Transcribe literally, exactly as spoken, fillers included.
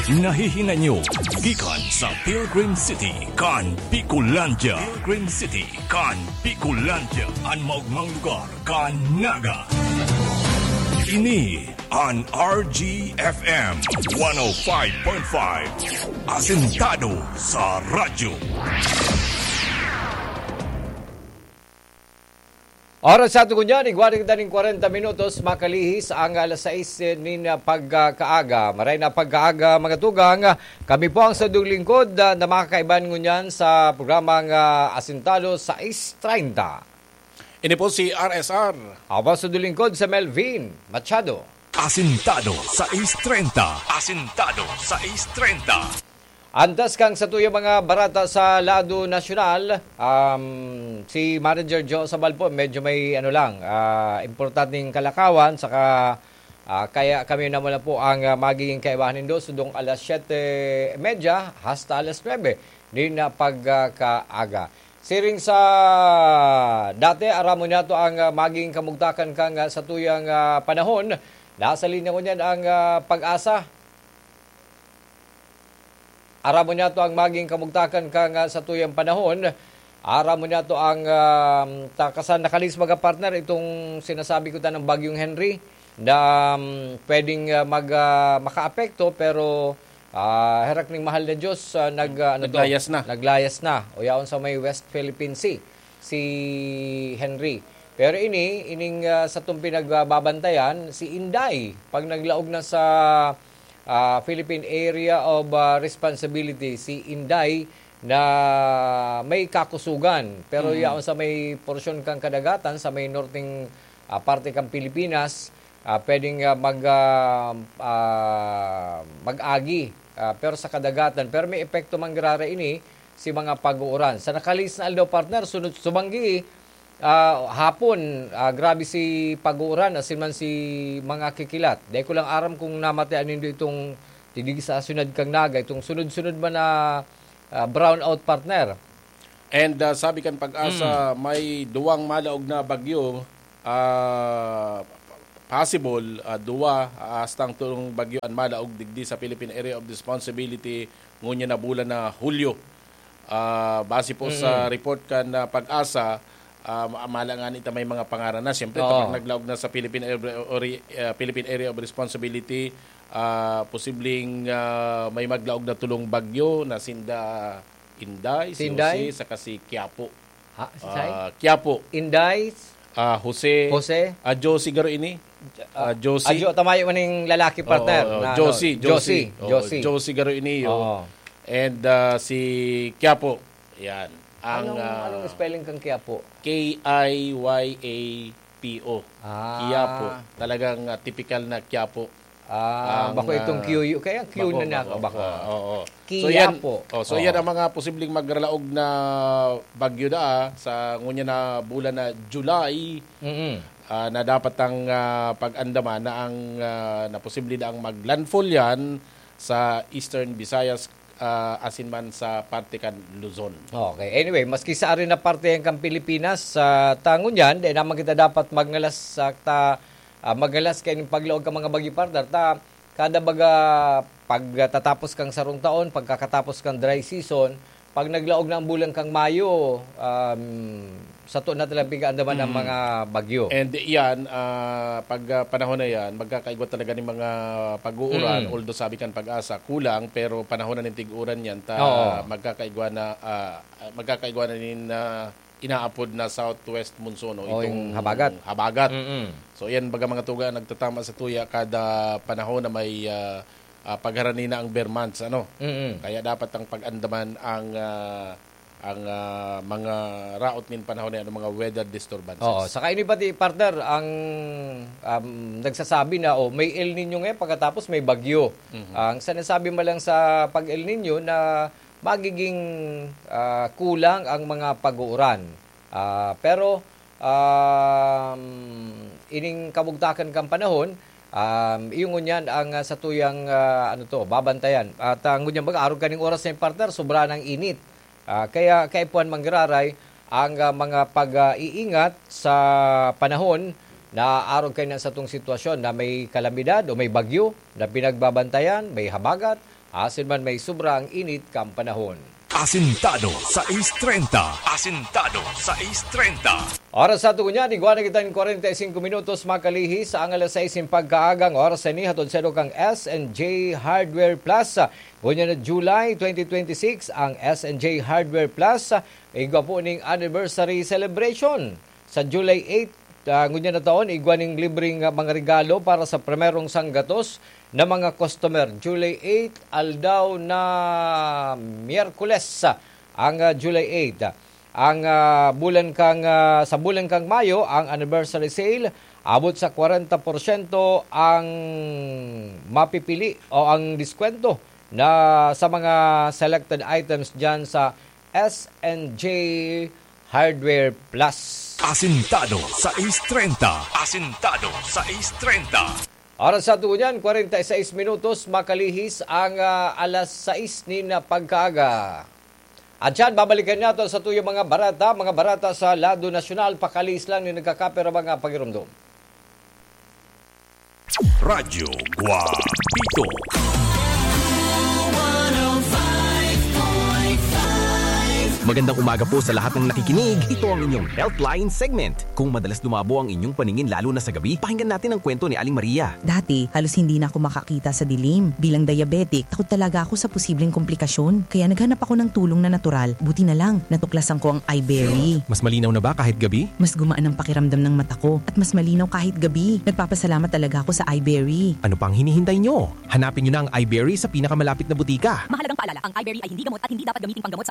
Nahihinanyo gikan sa Pilgrim City kan Bicolandia. Pilgrim City kan Bicolandia, an maogmang lugar kan Naga. Ini an R G F M one oh five point five, asentado sa radyo. Oras sa ato ngunyan, igwa na kita nin kwarenta minutos, makalihis ang alas sais nin pagkaaga. Maray na pagkaaga, mga tugang. Kami po ang sadong lingkod, ah, na makakaiban ngunyan sa programang, ah, Asintado sais treinta. Ini po si R S R. Ako po ang sadong lingkod, si Melvin Machado. Asintado sais treinta. Asintado sais treinta. Antas kan satuyang mga barata sa lado nasyonal, um, si Manager Joe Sabal po, medyo may ano lang, ah, importanteng kalakawan, saka, ah, kaya kami naman na po ang, ah, magiging kaibahan nindo, sudong alas siyete medya hasta alas nuebe, nin, ah, pagkaaga. Siring sa dati, aram mo niya to ang, ah, magiging kamugtakan kan, ah, satuyang, ah, panahon. Nasa linya ngunyan ang, ah, Pag-asa. Aram mo niya to ang maging kamugtakan kan, ah, satuyang panahon. Aram mo niya to ang, ah, ta-, kasan nakalis mga partner itong sinasabi ko tanang Bagyong Henry na, um, pwedeng, ah, mag, ah, makaapekto pero, ah, herak ning mahal na Diyos, ah, nag, ah, ano to? Naglayas na. Naglayas na. O yaon sa may West Philippine Sea, si Henry. Pero ini, ining, ah, satong pinagbabantayan, si Inday, pag naglaog na sa, ah, Philippine Area of, ah, Responsibility, si Inday na may kakusugan. Pero Mm. yaon sa may porsyon kan kadagatan, sa may norteng, ah, parte kan Pilipinas, ah, pwedeng, ah, mag, ah, ah, mag-agi, ah, pero sa kadagatan. Pero may epekto man giraray ini si mga pag-uuran. Sa nakalis na aldaw, partner, sunod sumanggi, ah, hapon, ah, grabe si pag-uuran, asin man si mga kikilat. Dai ko lang aram kung namatian nindo itong digdi sa syudad kan Naga, itong sunod-sunod man na, ah, brownout, partner. And, ah, sabi kan Pag-asa, Mm. may duwang malaog na bagyo, ah, possible, ah, duwa, ah, hastang tolong bagyo an malaog digdi sa Philippine Area of Responsibility ngunyan na bulan na Hulyo. Ah, base po sa Mm. report kan, ah, Pag-asa, ah, ma-, mala nga nita may mga pangaran na. Siyempre, Oo. kapag naglaog na sa Philippine Area, Ori-, ah, Philippine Area of Responsibility, ah, posibleng, ah, may maglaog na tolong bagyo na sinda Inday, Si si Inday? Jose, saka si Quiapo. Ha? Si Sai? Ah, Quiapo. Inday? Ah, Jose. Jose? Ah, Josie garo ini. Ah, Ah, Josie. Adyo, tamayo man ning lalaki, partner, Oo, oo, na ano, Josie, Josie. Josie, Oo, Josie. Josie garo ini, oh. Oo. And, ah, si Quiapo. Yan. Ang, Anong, ah, anong spelling kang Quiapo? K I Y A P O. Ah. Quiapo. Talagang, ah, tipikal na Quiapo. Ah, Ang, bako itong ah, Q U. Kaya ang Q bako, na niya bako. ako, bako. Ah, oo. So, yan, Quiapo. oh, so, yan Oo. ang mga posibleng magralaog na bagyo daa sa ngunyan na bulan na July, Mm-mm. ah, na dapat ang, ah, pag-andaman na ang, ah, na posible daang mag-landfall yan sa Eastern Visayas, ah, asin man sa parte kan Luzon. Okay. Anyway, maski sa ari na parte yan kan Pilipinas, sa tangon yan, dai naman kita dapat magngalas sa ta, ah, magngalas kaining paglaog kan mga bagyo, partner. Ta, kada baga, pagtatapos kang sarong taon, pagkakatapos kang dry season, pag naglaog na ang bulan kang Mayo, um, sato na talagang pig-aandaman ang Mm. mga bagyo. And yan, ah, pag, ah, panahon na yan, magkakaigwa talaga ng mga pag-uuran, Mm. although sabi kan Pag-asa, kulang, pero panahon na ning tig-uran yan, ta Oo. magkakaigwa na, ah, magkakaigwa na nin, ah, inaapod na southwest monsoon, no? O, Itong yung habagat. habagat. Mm-mm. So, yan, baga mga tuga, nagtatama sa tuya kada panahon na may, ah, ah, pagharani na ang ber months, ano? Mm-mm. Kaya dapat ang pag-andaman ang, ah, ang, ah, mga raot nin panahon na yan, ang mga weather disturbances. Oo, saka ini pati, partner, ang, um, nagsasabi na, oh, may El Nino ngayon, pagkatapos may bagyo. Mhm. Ang sinasabi mo lang sa pag-El Nino na magiging, ah, kulang ang mga pag-uuran. Ah, pero, um, ining kabugtakan kan panahon, um, iyo ngunyan ang, ah, satuyang, ah, ano to, babantayan. At, ah, ngunyan baga, arog kaning oras na yun, partner, sobra ng init. Ah, kaya kaipuhan manggiraray ang, ah, mga pag-iingat sa panahon na arog kayo na satong sitwasyon na may kalamidad o may bagyo na pinagbabantayan, may habagat, asin man may sobra ang init kan panahon. Asintado sais treinta. Asintado sais treinta. Oras sa tungo niyan, igwa na kita nin kwarenta y singko minutos makalihis ang alas sais nin pagkaaga. Ang oras na ini hatod sa kang S and J Hardware Plus. Ngunyan na July twenty twenty-six, ang S and J Hardware Plus, igwa po ning anniversary celebration. Sa July eight, ah, ngunyan na taon, igwa ning libreng, ah, mga regalo para sa primerong sanggatos na mga customer. July eight, aldaw na Miyerkules, ah, ang, ah, July eight. Ang, ah, bulan kang, ah, sa bulan kang Mayo, ang anniversary sale, abot sa kwarenta porsyento ang mapipili o ang diskwento na sa mga selected items diyan sa S and J Hardware Plus. Asintado sais treinta. Asintado sais treinta. Oras sa tungo niyan, kwarenta y seis minutos, makalihis ang, ah, alas sais nin pagkaaga. At yan, babalikan nato sa tuyang mga bareta, mga bareta sa lado nasyonal, pakalihis lang nin nagkakapirang mga pagirumdom. Radyo Guapito. Magandang umaga po sa lahat ng nakikinig. Ito ang inyong Healthline segment. Kung madalas lumabo ang inyong paningin lalo na sa gabi, pakinggan natin ang kwento ni Aling Maria. Dati, halos hindi na ako makakita sa dilim. Bilang diabetic, takot talaga ako sa posibleng komplikasyon. Kaya naghanap ako ng tulong na natural. Buti na lang, natuklasan ko ang iBerry. Mas malinaw na ba kahit gabi? Mas gumaan ang pakiramdam ng mata ko at mas malinaw kahit gabi. Nagpapasalamat talaga ako sa iBerry. Ano pang hinihintay nyo? Hanapin nyo na ang iBerry sa pinakamalapit na butika. Mahalagang paalala, ang iBerry ay hindi gamot at hindi dapat gamiting panggamot sa